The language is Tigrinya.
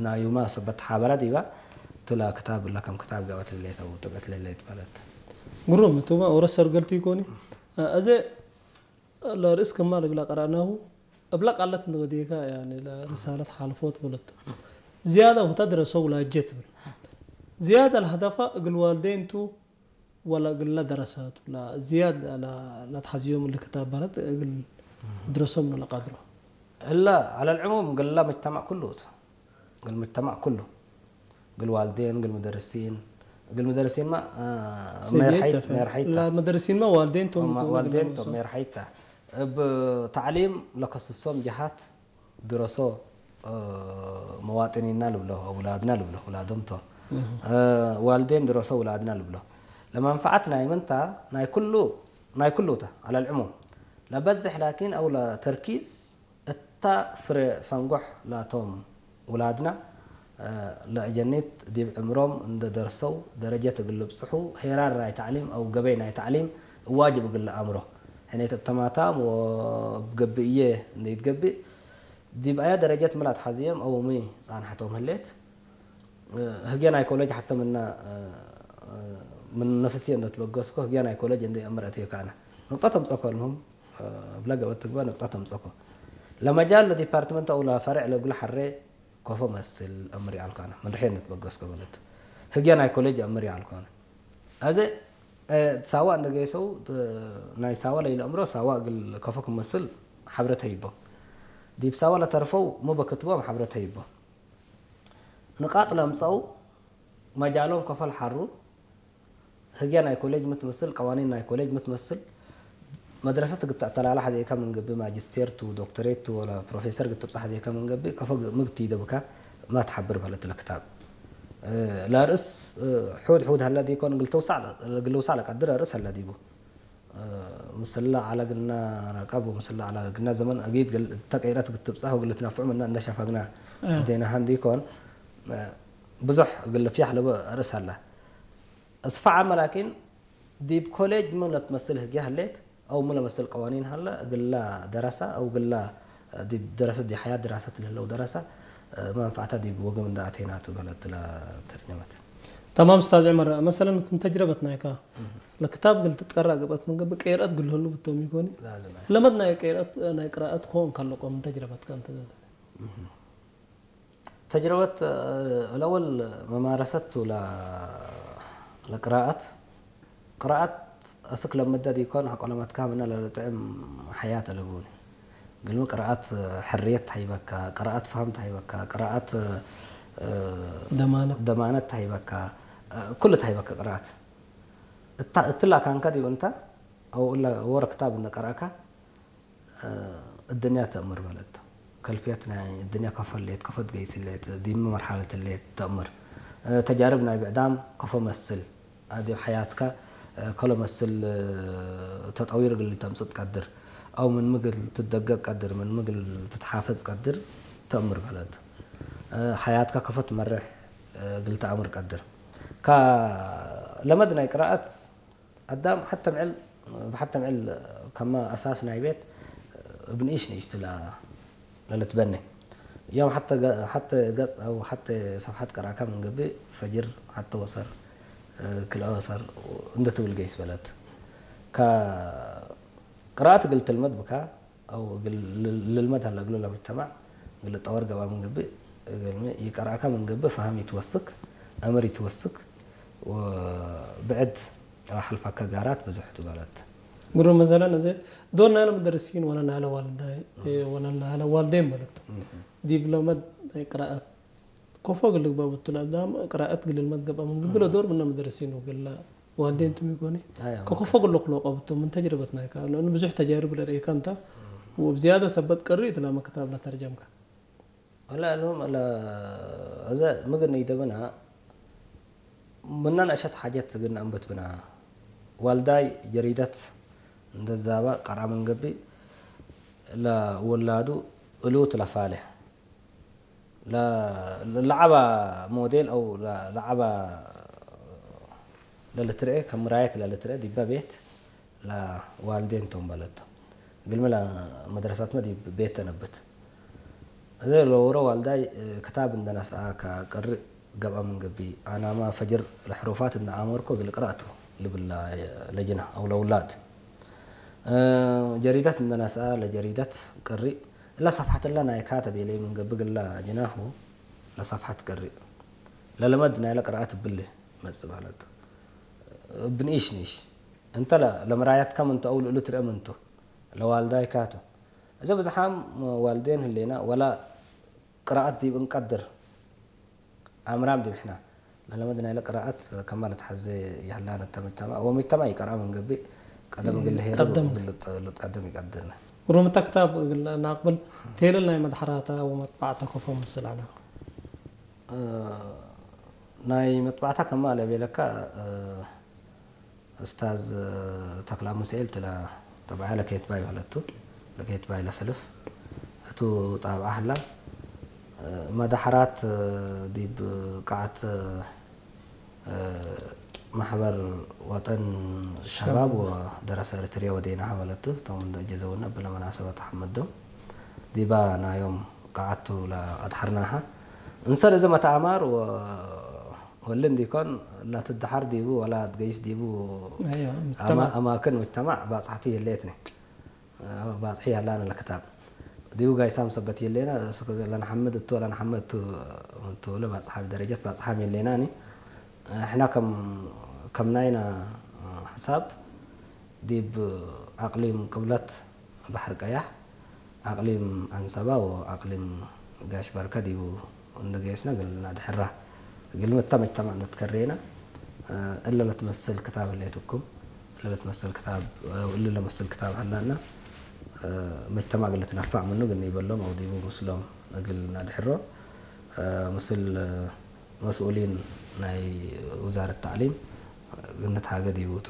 ናዩማ ሰበት ሓበራ ዲባ ትላ ክታብ ላ ከም ክታብ ገበት ለሌተው ጥበት ለሌት ማለት ግሩም እቱማ ወረሰር ገልቱ ይኮኒ። እዚ ለርእስ ከማ ልግላ ቀራእናሁ እብላ ቃለት ንወዲካ ርሳለት ሓልፎት ብለት ዝያዳ ሁታ ድረሰው ላጀት ብል ዝያዳ ለሀደፋ እግል ዋልዴንቱ ወላ እግል ለደረሰቱ ዝያድ ለትሓዝዮም ልክታብ ባለት እግል ድረሶም ለቃድሮ እላ على العموم እግል ላ መጅተማዕ ኩሉ እግል መጅተማዕ ኩሉ እግል ዋልዴን እግል መደርሲን እግል መደርሲን ማ ሜር ሓይታ መደርሲን ማ ዋልዴን ቶም ዋልዴን ቶም ሜር ሓይታ እብ ታዕሊም ለከስሶም ጀሃት ድረሶ መዋጥኒና ልብሎ ውላድና ልብሎ ውላዶም ቶም ዋልዴን ድረሶ ውላድና ልብሎ ለመንፈዓት ናይ ምንታ ናይ ኩሉ ናይ ኩሉታ على العموم ለበዝሕ ላኪን ኣው ለተርኪዝ እታ ፍረ ፈንጎሕ ላቶም ውላድና ለእጀኒት ዲብ ዕምሮም እንደ ደርሰው ደረጀት እግል ልብጽሑ ሄራር ናይ ታዕሊም ኣው ገበይ ናይ ታዕሊም እዋጅብ እግል ለኣምሮ ሕኔት እብ ተማታም ወብገብእየ እንደ ይትገብእ ዲብ ኣያ ደረጀት ምላጥ ሓዝየም ኣው ሚ ጻንሐቶም ህሌት ህግየ ናይ ኮሌጅ ሓተ ምና ምን ነፍስየ እንደ ትበገስኮ ህግየ ናይ ኮሌጅ እንደ እምር እትዮ ካነ ንቅጠ ተምጸኮ ልምሁም ብላ ገበት ትግባ ንቅጠ ተምጸኮ ለመጃል ለዲፓርትመንት ኣው ለፈርዕ ለጉለ ሐሬ ኮፎ መስል እምር ያልኳነ ምን ርሕየ እንደ ትበገስኮ በለት ህግየ ናይ ኮሌጅ እምር ያልኳነ ኣዘ ሳዋ እንደ ገይሰው ናይ ሳዋ ለይለ እምሮ ሳዋ እግል ከፎ ክመስል ሓብረት ሀይቦ ዲብ ሳዋ ለተርፈው ሙበ ክትቦም ሓብረት ሀይቦ ንቃጥ ለምጸው መጃሎም ከፈል ሓሩ ህግያ ናይ ኮሌጅ ምትመስል ቀዋኒን ናይ ኮሌጅ ምትመስል መድረሰት ግትዕተላላ ሓዜካ ምን ገብእ ማጅስቴር ቱ ዶክተሬት ቱ ወላ ፕሮፌሰር ግትብጻ ሓዜካ ምን ገብእ ከፎ ምግቲ ይደብካ ما تحبر በለት ለክታብ ለርእስ ሑድ ሑድ ሀለ ዲኮን ግልተውሳዕ ግልውሳዕ ለቀድር ርእስ ሀለ ዲቡ ምስላ ዓለ ግና ረቀብ ምስላ ዓለ ግና ዘመን እጊድ ተቀይረት ግትብጻ ወግል ትነፍዑ ምና እንደ ሸፈግና ዴና ሀንዲ ኮን ብዙሕ ግልፍያሕ ለበ ርእስ ሀለ እስፋ ዓመ ላኪን ዲብ ኮሌጅ ምን ለትመስል ህግያ ህሌት ኣው ምን ለመስል ቀዋኒን ሀለ እግላ ደረሳ ኣው ግላ ዲብ ደረሰ ዲ ሐያት ድራሰት ለህለው ደረሳ መንፈዓታ ዲብ ወግም እንዳ ኣቴናቱ በለት ለተርጀመት تمام استاذ عمر مثلا كم تجربة نايكا لكتاب قلت تقرا قبت من قبل قيرات قل هلو بتومي كوني لازم لمد ناي قيرات ناي قراءات كون كان لقوم تجربة كانت تجربة الأول ممارسة ل لقراءة قراءة أسك لما دادي يكون حق علامات كاملة لطعم حياة لبوني قلمو قراءة حرية هيبكا قراءة فهمت هيبكا قراءة ደማነት ደማነት ሃይበካ ኩሉ ሃይበካ ቅርኣት እትላ ካንካ ዲብ እንተ ኣው እላ ወረ ክታብ እንደ ቀርኣካ እድንያ ተእምር በለት ከልፍየት ናይ እድንያ ከፈ ሌት ከፈት ገይስ ሌት ዲሚ መርሓለት ሌት ተእምር ተጃርብ ናይ ብዕዳም ከፈ መስል ኣዲብ ሓያትካ ከሎ መስል ተጠዊር ግል ተምጽእ ትቀድር ኣው ምን ምግል ትደገብ ቀድር ምን ምግል ትትሓፈዝ ቀድር ተእምር በለት ሓያትካ ከፈት መርሕ ግል ተኣምር ቀድር ካ ለመድ ናይ ቅራኣት ኣዳም ሓተ ምዕል ብሓተ ምዕል ከማ ኣሳስ ናይ ቤት ብንእሽ ንእሽትላ ለልትበኒ እዮም ሓተ ገጽ ኣው ሓተ ሰፍሓት ቀራእካ ምን ገብእ ፈጅር ሓተ ወሰር ክልአ ወሰር እንደ ትብል ገይስ በለት ካ ቅራኣት እግል ትልመድ ብካ ኣው እግል ልልመድ ሀለ እግሉ ለምጅተማዕ እግል ጠወር ገብኣ ምን ገብእ እግልሚ ይቀራእካ ምን ገብእ ፈሃም ይትወስክ ኣምር ይትወስክ ብዕድ ሓልፋካ ጋራት ብዙሕ ትበለት ግሩ መሰለን እዚ ዶር ናይለ መደረሲን ወላ ናይለ ዋልዳይ ወላ ናይለ ዋልደይ ማለት ዲብሎመት ናይ ቅራኣት ኮፎ ግልግባ ብትላ ዳም ቅራኣት ግልልመት ገባ ምን ግብለ ዶር ምና መደረሲን ወገላ ዋልደይ እንቱም ይኮኒ ከኮፎ ግሎ ክሎ ቀብቶ ምን ተጅርበት ናይካ ለእኑ ብዙሕ ተጃርብ ለርእካ እንታ ወብዝያደ ሰበት ቀሪ ትላ መክታብ ለተርጀምካ ወላ እሎም እዘ ምግን ይደብና ምናን ኣሸት ሓጀት ግን ኣንበት ብና ዋልዳይ ጀሪደት እንደዛባ ቀርኣ መንገቢ ለወላዱ እሉ ትለፋለ ለዓባ ሞዴል ኣው ለዓባ ለልትርኤ ከም ምራየት ለልትርኤ ዲባ ቤት ለዋልዴን ቶም በለቶ ግልሚ ለመድረሳትመ ዲብ ቤት ተነብት እዚ ለውሮ ዋልዳይ ክታብ እንደነስኣ ከቅርእ ገብኣ ምንገቢ ኣናማ ፈጅር ለሕሩፋት እንደ ኣመርኮ ግልቅራእቱ ልብላ ለጅና ኣው ለውላድ ጀሪደት እንደነስኣ ለጀሪደት ቅሪ እላ ሰፍሓት እላ ናይ ካተብ የለይ ምንገቢ ግላ ጅናሁ ለሰፍሓት ቅሪ ለለመድ ናይ ለቅራኣት ብሊ መጽእ ማለት ብንኢሽ ንኢሽ እንተ ለምራያት ከም እንተ ኣው ልእሉ ትርአ ምንቱ ለዋልዳይ ካቱ እዚ ብዝሓም ዋልዴን ህሌና ወላ ቅራኣት ዲብ እንቀድር ኣምራም ዲብ ሕና ለለመድ ናይለ ቅራኣት ከማ ለትሓዘ ይህላ ነተ ሙጅተማዕ ወሙጅተማዕ ይቀርኣ ምንገቢ ቀደም እግል ሄዱ ቀደም። እግል ልጥ- ልትቀደም ይቀድርና ሩምታ ክታብ እግል ናቅብል ቴለል ናይ መድሓራታ ወመጥባዕታ ኮፎ ምስል ኣለ ናይ መጥባዕታ ከማ ለቤለካ እስታዝ ተክላ ሙስኤል ትላ ጠብዓ ለከየት ባይ በለቱ ለከየት ባይ ለሰልፍ እቱ ጣብዓ ህላ መዳሕራት ዲብ ቃዓት ማሕበር ወጠን ሸባብ ወደረሰ ኤርትርያ ወዴና በለቱ እቶም እንደ ጀዘውና ብለ መናሰበት ሓመዶም ዲባ ናዮም ቃዓቱ ለኣድሓርናሃ እንሰር እዚ መተኣማር ወ- ወሊ እንዲኮን ላትድሓር ዲቡ ወላ ትገይስ ዲቡ أيوة، أما- مجتمع. ኣማክን ሙጅተማዕ ባፅሕቲ የለየትኒ ባፅሒ ያላን ለክታብ ዲቡ ጋይሳም ሰበት የለና ለንሓምድ እቱ ለንሓምድ እቱ ትብሉ ባፅሓ ደረጀት ባፅሓም የለና ኒ ሕና ከም ከም ናይና ሓሳብ ዲብ ኣቅሊም ቅብለት ባሕሪ ቀያሕ ኣቅሊም ዓንሰባ ወኣቅሊም ጋሽ ባርከ ዲቡ እንደገየስና ግልና ድሕራ ግልምታ መጅተማዕ እንደትከሬና እለ ለትመስል ክታብ ህሌትኩም እለ ለትመስል ክታብ እለ ለመስል ክታብ ሀላና መጅተማዕ ግለ ትነፋዕ ምኑ ግን ይበሎም ኣው ዲቡ ምስሎም እግልና ድሕሮ ምስል መስኡሊን ናይ ውዛረት ታዕሊም ግንትሃገ ዲቡቱ